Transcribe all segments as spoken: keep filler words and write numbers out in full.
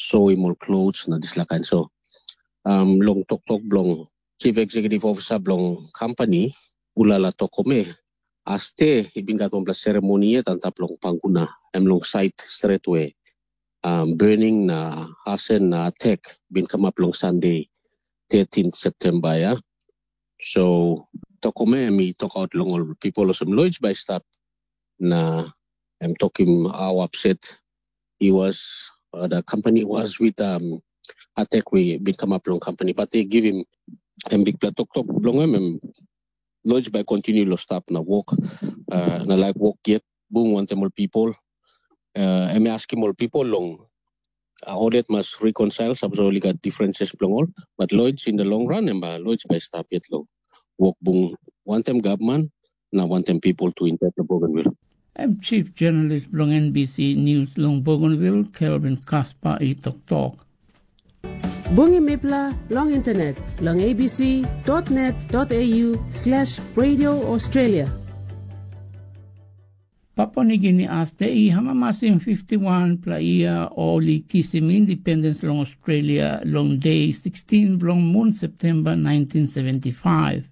soim ol klos na dispela kain. So um, long toktok bilong chief executive officer bilong company, Ulala Tokome, aste i bin gat wanpela seremoni yet antap long Panguna, em long sait stret we um, burning na asen na attack bin kamap long Sunday thirteen September, ya. So Tokome em i tokaut long ol people olsem Lloyd bai stap na em tokim how upset he was, uh, the company was with um, attack we bin kamap long company, but they give him em bikpela toktok bilong em, em Lloyd bai continue lo stap na work, uh, na like work yet bung wantem ol people. Uh, em askim ol people long uh, ol yet mas reconcile, sapos ol i gat differences bilong ol, but Lloyd in the long run em uh, Lloyd bai stap yet lo work bung wantem government na wantem people tu inside the Bougainville. Em chief journalist bilong N B C News long Bougainville, Kelvin Kaspa i toktok. Bungim mipela long internet long A B C dot net dot A U slash Radio Australia. Papua Nigini aste i hamamasim fifty-one pela yia ol i kisim independens long Australia long de sixteen bilong mun Septemba nineteen seventy-five.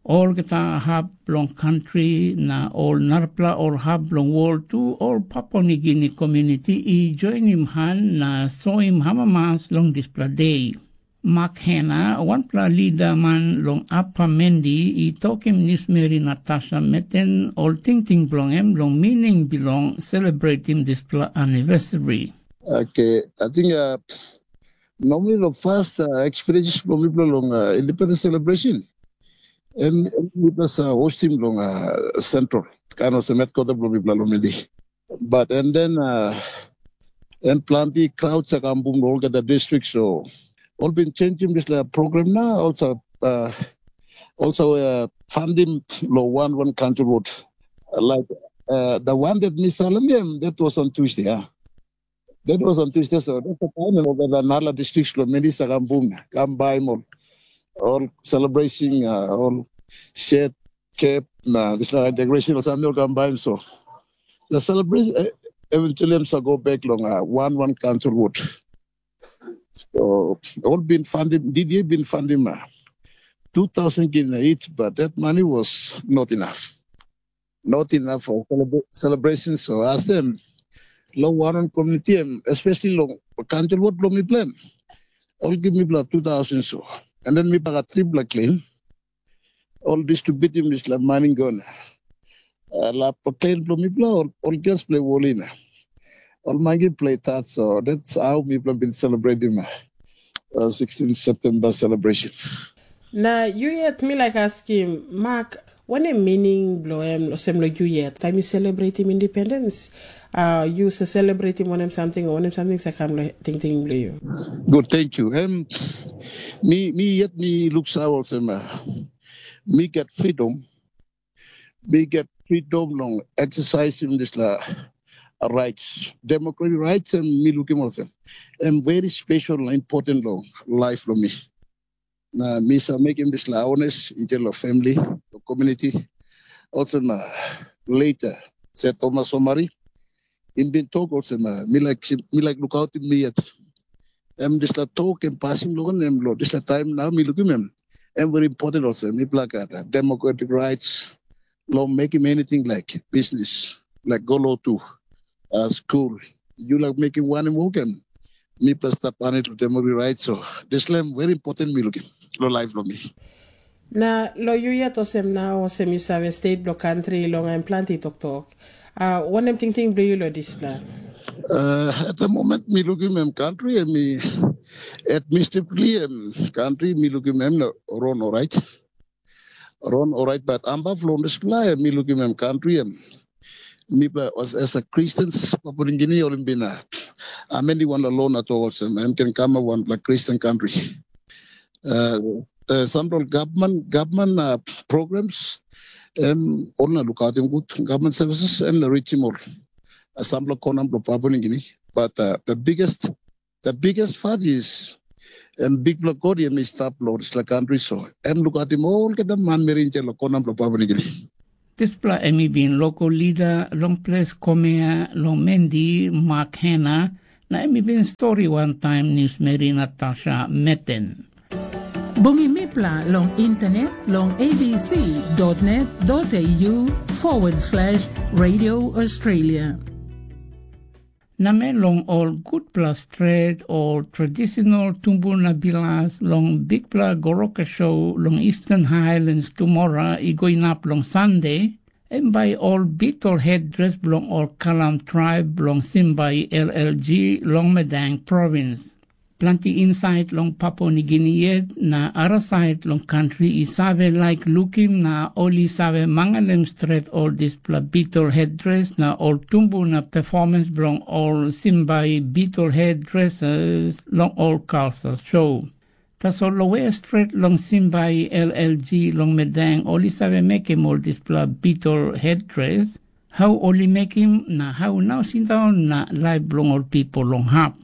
Olgeta hap bilong kantri na ol narapela ol hap bilong wol tu, ol Papua Nigini komuniti i joinim han na soim amamas long dispela de. Mak Hena, wanpela lidaman long Apa Mendi, i tokim newsmeri Natasha Meten ol tingting bilong em long mining bilong selebretim dispela anivesari. Okay, I think uh, normally the first uh, experiences from people long uh, independence celebration, and it was uh, hosting long uh, central, kind of headquarter from people long Mendi. But and then uh, and planti crowds are come from all the districts, so all been changing this uh, program now. Also, uh, also uh, funding lo one one country road, like uh, the one that Miss Salam, that was on Tuesday. Yeah. That was on Tuesday, so that's the time and over the Nala districts lo many sagambung, come by all, all celebration, uh, all shed, cap, na this like decoration or something come by so. The celebration uh, eventually I'm go back long uh, one one council wood. So all been funded, D D A been funding uh, two thousand kina each, but that money was not enough. Not enough for celebra- celebration. So ask them, lo one community, em, especially lo council wood lo mi plan. All give me blood two thousand so. And then mi paga triple clean. All distributing this la money gone. Uh, la play blo mipla ol ol girls play wolina. Ol mangi play tat, so that's how mipla been celebrating uh, sixteen September celebration. Na yu yet mi laik askim, Mak, wanem meaning bilong em olsem long yu yet? Taim yu selebretim independens, uh, yu sa selebretim wanem samting o wanem samting sa kam long tingting bilong yu? Good, thank you. Em, mi, mi yet mi luksa olsem, uh, mi get freedom, mi get freedom long exercising dispela rights, democratic rights, em mi lukim olsem em very special na important long life long mi. Na mi sa mekim dispela honest intel long family, long community. Olsem na later, se Thomas Somari, im bin tok olsem, uh, mi laik mi laik lukautim mi yet. Em dispela tok em pasim long em lo dispela taim nau mi lukim em. Em very important olsem mipela gat uh, democratic rights long mekim anything like business, like go lotu, uh, school. Yu laik mekim wanem wok em mipela stap anit long democratic rights. So dispela em very important mi lukim long life long mi. Na long yu yet olsem nau olsem yu save stet bilong kantri long em planti toktok. Uh, wanem tingting bilong yu long dispela? Uh, at the moment mi lukim em country em mi administratively em country mi lukim em no run alright. Run alright, but ambaf long dispela em mi lukim em country em mipela as, as a Christians Papua New Guinea ol bin a ameni wan lo na to olsem em ken kam wanpela Christian country. Uh, uh, sampela gavman gavman uh, programs em ol na lukautim gut gavman services em na richim ol uh, sampela kona bilong Papua New Guinea. But uh, the biggest the biggest part is em bikpela God em i stap long dispela country, so em lukautim olgeta manmeri insait long kona bilong Papua New Guinea. Dispela em i bin lokal lida long ples Komea long Mendi, Mak Hena, Na em i bin stori wantaim niusmeri Natasha Meten. Bungim mipela long internet long A B C dot net dot A U forward slash Radio Australia. Namel long ol gutpela stret o tradisional tumbuna bilas long bikpela goroka show long Eastern Highlands tumora i go inap long Sande, em bai ol bitol hetdres bilong ol Kalam traib bilong Simbai L L G long Madang provins. Planti insait long Papua Nigini yet na arasait long kantri i save laik lukim na ol i save mangalim stret ol dispela bitol hetdres na ol tumbuna performance bilong ol Simbai bitol hetdreses long ol kalsa show. Tasol long we stret long Simbai L L G long Madang ol i save mekim ol dispela bitol hetdres, hau ol i mekim na hau nau sindaun na laip bilong ol pipel long hap.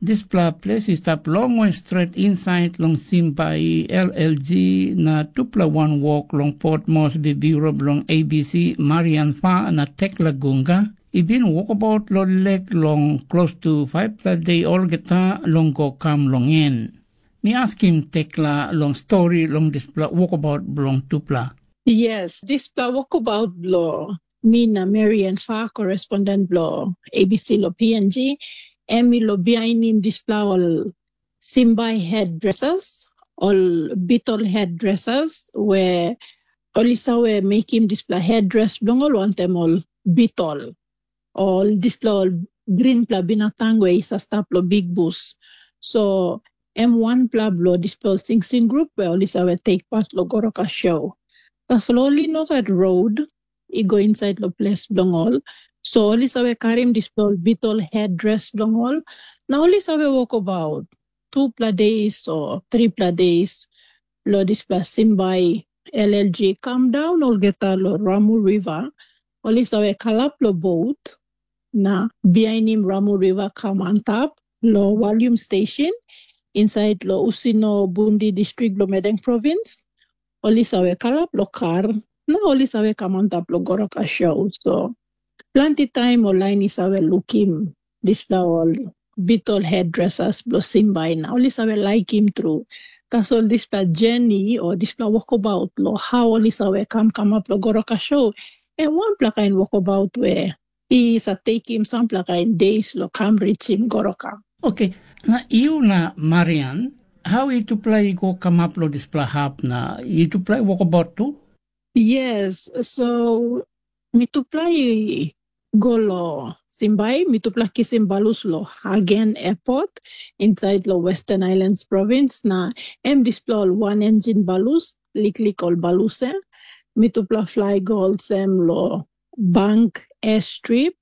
Dispela ples i stap longwe stret insait long Simbai L L G na tupela wanwok long Port Moresby Biuro bilong A B C, Marian Fa na Tekla Gunga, i bin wokabaut long lek long klostu faipela de olgeta long go kam long en. Mi askim Tekla long stori long dispela wokabaut bilong tupela. Yes, dispela wokabaut bilong mi na Marian Fa, korespondent bilong A B C long P N G, em i lo bihainim dispela ol Simbai hetdreses, ol bitol hetdreses, we ol i save mekim dispela hetdres bilong ol wantaim ol bitol, ol dispela ol grinpela binatang we i sa stap long bikbus. So em wanpela bilong dispela ol singsing grup we ol i save tek pat long goroka show. Tasol ol i no gat rot i go insait long ples bilong ol. So ol i save karim dispela ol bitol hetdres bilong ol, na ol i save wokabaut tupela de o tripela de long dispela Simbai L L G kam daun olgeta long Ramu Riva. Ol i save kalap long bot na bihainim Ramu Riva kam antap long Valium Station insait long Usino Bundi distrik long Madang provins. Ol i save kalap long kar na ol i save kam antap long goroka show. So planti taim ol lain i save lukim dispela ol bitol hetdreses bilong Simbai na ol i save laikim tru. Tasol dispela jeni o dispela wokabaut long hau ol i save kam kamap long goroka show, em wanpela kain wokabaut we i sa tekim sampela kain de long kam risim goroka. Oke, na yu na Marian, hau yutupela i go kamap long dispela hap na yutupela i wokabaut tu? Yes, so mitupela i go long Simbai, mitupela kisim balus long Hagen Airport insait long Western Highlands Province, na em dispela ol wan enjin balus, liklik ol balus em. Mitupela flai go olsem long Bank Airstrip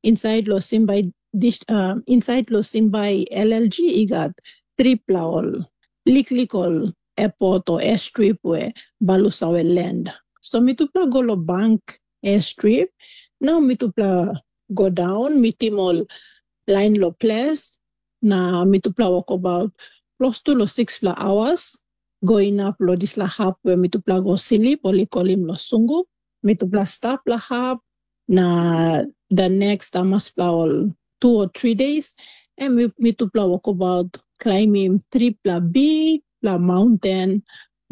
insait long Simbai dis, uh, insait long Simbai L L G i gat tripela ol liklik ol airport o airstrip we balus save land. So mitupela go long Bank Airstrip, na mitupela go daun mitim ol lain long ples, na mitupela wokabaut klostu long sikspela awas go inap long dispela hap we mitupela go slip, ol i kolim long Sungu. Mitupela stap long hap, na the next amaspela ol two o three days, em mitupela wokabaut klaimim tripela bikpela maunten,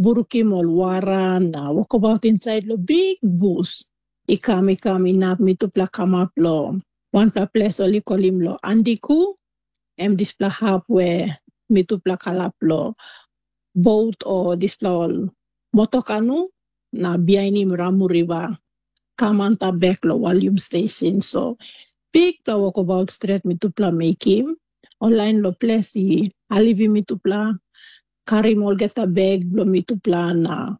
brukim ol wara na wokabaut insait long bik bus. I kam i kam inap mitupela kamap long wanpela ples ol i kolim long Andiku, em dispela hap we mitupela kalap long bot o dispela ol motokanu na bihainim Ramu Riva kam antap bek long Valium Station. So bikpela wokabaut stret mitupela mekim. Ol lain long ples i halivim mitupela, karim olgeta bek bilong mitupela na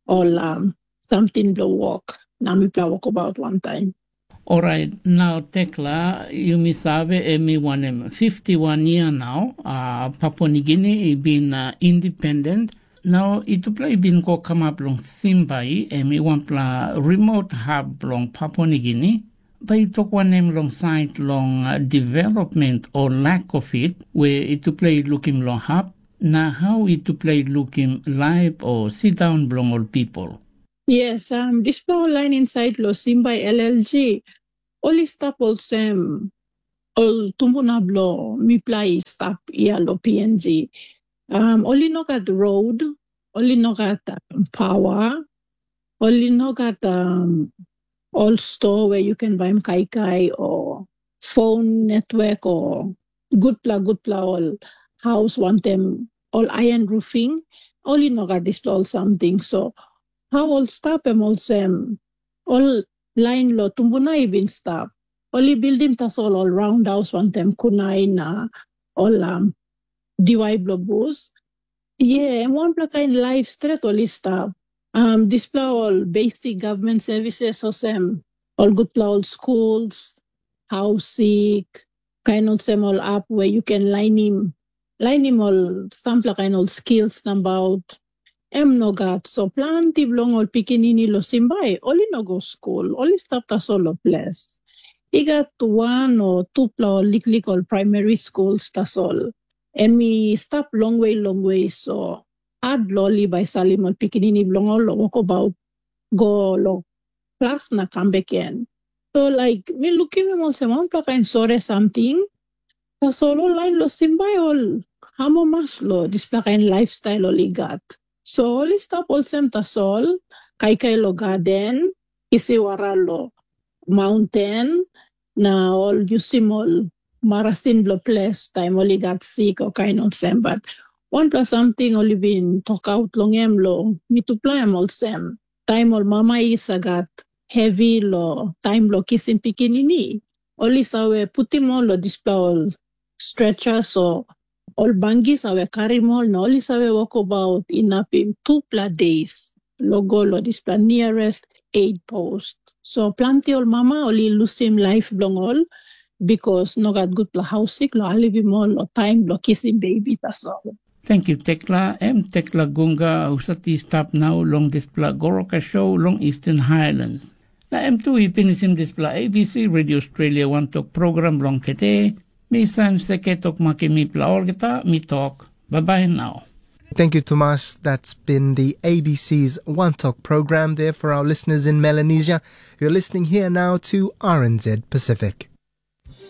ol um, samting bilong wok, na mipela wokabaut wantaim. Orait, nau Tekla, yumi save em i wanem fifty wan yia nau, uh, Papua Nigini i bin uh, independent. Nau yutupela i bin go kamap long Simbai, em i wanpela remote hub bilong Papua Nigini. Bai yu tok wanem long sait long uh, development o lack of it, we yutupela i lukim long hap, na hau yutupela i lukim laip o sindaun bilong ol pipel? Yes, um, dispela ol lain insait long Simbai L L G, ol i stap olsem ol tumbuna bilong mipela i stap ia long P N G. Um, ol i no gat road, ol i no gat um, power, ol i no gat um, ol store where you can buy kaikai or phone network or gutpela gutpela ol house wantaim ol iron roofing, ol i no gat dispela ol something. So how ol stap em olsem, ol lain lo tumbuna i bin stap. Ol i bildim tasol ol roundhouse wantaim kunai na ol um, diwai bilong bus. Ye, em wanpela kain laip stret ol i stap. Um, dispela ol basic government services olsem ol gutpela ol schools, hausik, kain olsem ol ap where you can lainim lainim ol sampela kain ol skills nabaut em no gat. So planti bilong ol pikinini lo Simbai ol i no go skul, ol i stap tasol lo ples. I gat wan o tupela ol liklik ol primary schools tasol. Em i stap longwe longwe, so hat lo ol i bai salim ol pikinini bilong ol lo wokabaut go lo klas na kam bek gen. So laik mi lukim em olsem wanpela kain sore samting. Tasol ol lain lo Simbai ol amamas lo dispela kain lifestyle ol i gat. So ol i stap olsem tasol, kaikai lo gaden, isi wara lo maunten, na ol yusim ol marasin bilong ples taim ol i gat sik o kain olsem. Bat wanpela samting ol i bin tokaut long em long mitupela em olsem, taim ol mama i sagat hevi lo taim lo kisim pikinini, ol i save putim ol lo dispela ol stretchers o ol bangis save karim ol na ol i save wokabaut inapim tupela days lo go lo dispela nearest aid post. So planti ol mama ol i lusim laip bilong ol bikos no gat gutpela hausik lo alivim ol lo taim bilong kisim bebi tasol. Thank you, Tekla. Em Tekla Gunga, husat i stap nau long dispela Goroka show long Eastern Highlands. Na em tu i pinisim dispela A B C Radio Australia wantok program long tete. Mi Sam Seke tok makim mipela olgeta, mi tok, bye bye now. Thank you, Tomas. That's been the A B C's One Talk program there for our listeners in Melanesia. You're listening here now to R N Z Pacific.